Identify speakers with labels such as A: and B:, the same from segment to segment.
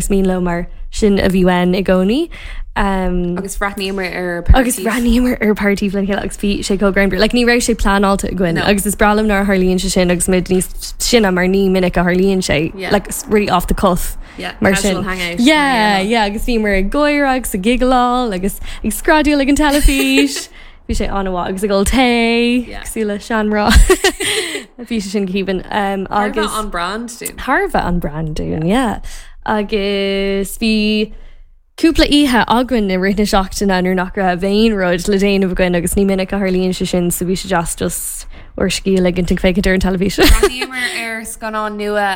A: Is mian leo mar sin a bhí uainn i gcónaí.
B: Agus bhreathnaíomar ar Party.
A: Agus bhreathnaíomar ar Party lena chéile agus bhí sé chomh greannmhar. Like ní raibh sé pleanáilte againn agus is breá liom nuair a tharlaíonn sé sin agus muid níos sine mar ní minic a tharlaíonn sé. Like really off the cuff.
B: Mar sin.
A: Yeah, yeah, agus bhíomar ag gáire agus ag giggleáil agus ag screadaíl ag an teilifís. Bhí sé an-mhaith agus ag ól tae, cosúil le seanmhná. Bhí sé sin go haoibhinn.
B: Thar a bheith on brand dúinn.
A: Thar a bheith on brand dúinn, yeah. Agus bhí cúpla oíche againn i rith na seachtaine nuair nach raibh aon rud le déanamh againn agus ní minic a tharlaíonn sé sin so bhí sé deas just ár scíth a ligint ag féachaint ar an teilifís.
B: Bhreathnaíomar ar scannán nua,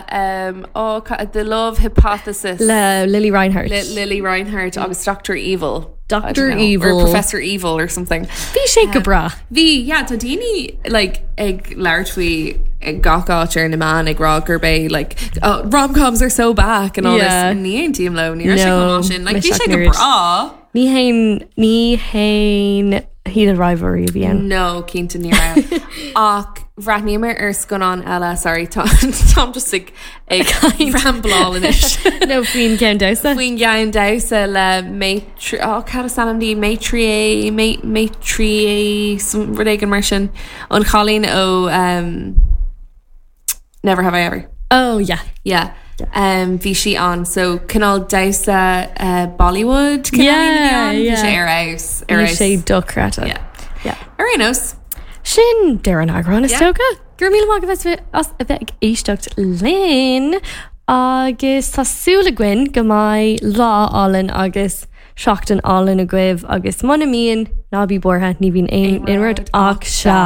B: oh, The Love Hypothesis.
A: Le Lili Reinhart.
B: Le Lili Reinhart agus Doctor Evil.
A: Doctor Evil.
B: Or Professor Evil or something.
A: Bhí sé go breá.
B: Bhí, yeah, tá daoine like, ag labhairt faoi ag gach áit ar na meáin ag rá gurb é like, oh, rom-coms are so back and all
A: Yeah.
B: this. Ní aontaím leo, ní raibh sé
A: No,
B: chomh maith sin. Like, bhí
A: mise
B: sé go
A: ach an oiread.
B: breá.
A: Ní haon, ní haon Heated Rivalry a bhí ann.
B: No, cinnte ní raibh. Ach bhreathnaíomar ar scannán eile, sorry, tá táim just ag ag rambláil anois.
A: Nó faoin gceann damhsa.
B: Faoin gceann damhsa le Maitri, oh, cad is ainm di? Maitreyi, Maitreyi, some rud éigin mar sin. An chailín ó um, Never Have I Ever.
A: Oh, yeah.
B: Yeah. Um, bhí sí ann, so cineál damhsa uh, Bollywood cineál
A: Yeah,
B: a bhí ann. Bhí
A: yeah.
B: sé ar fheabhas, ar
A: Bhí
B: fheabhas.
A: sé dochreidte.
B: Yeah.
A: Yeah.
B: Ar aon nós.
A: Sin deireadh an eagráin is
B: Yeah.
A: dócha. Go raibh míle maith agaibh as a bheith ag éisteacht linn agus tá súil againn go mbeidh lá álainn agus seachtain álainn agaibh agus muna mbíonn, ná bí buartha, ní bhíonn aon rud ach seal.